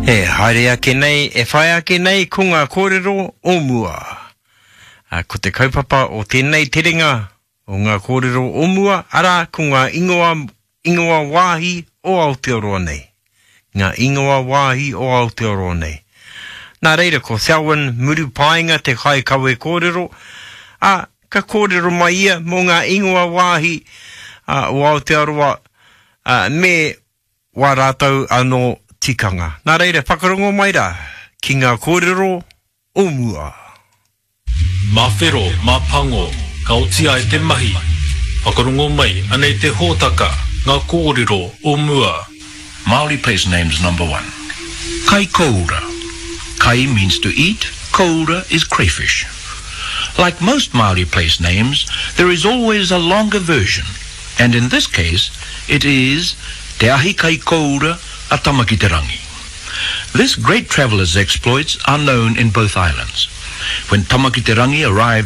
E haere ake nei, e whai ake nei ko ngā kōrero o mua. Ko te kaupapa o tēnei terenga o ngā kōrero o mua, arā, ko ngā ingoa, ingoa wāhi o Aotearoa nei. Ngā ingoa wāhi o Aotearoa nei. Nā reira, ko Selwyn Murupaenga te kaikawe kōrero, ā, ka kōrero mai ia mō ngā ingoa wāhi o Aotearoa, ā, me wā rātou anō tikanga. Nā reira, whakarongo mai rā ki ngā kōrero o mua. Mā whero, mā pango, ka oti ai te mahi. Whakarongo mai, anei te hōtaka, ngā kōrero o mua. Māori place names number one. Kai koura. Kai means to eat, koura is crayfish. Like most Māori place names, there is always a longer version, and in this case, it is Te Ahi Kai Koura a Tamakiterangi. This great traveller's exploits are known in both islands. When Tamakiterangi arrived.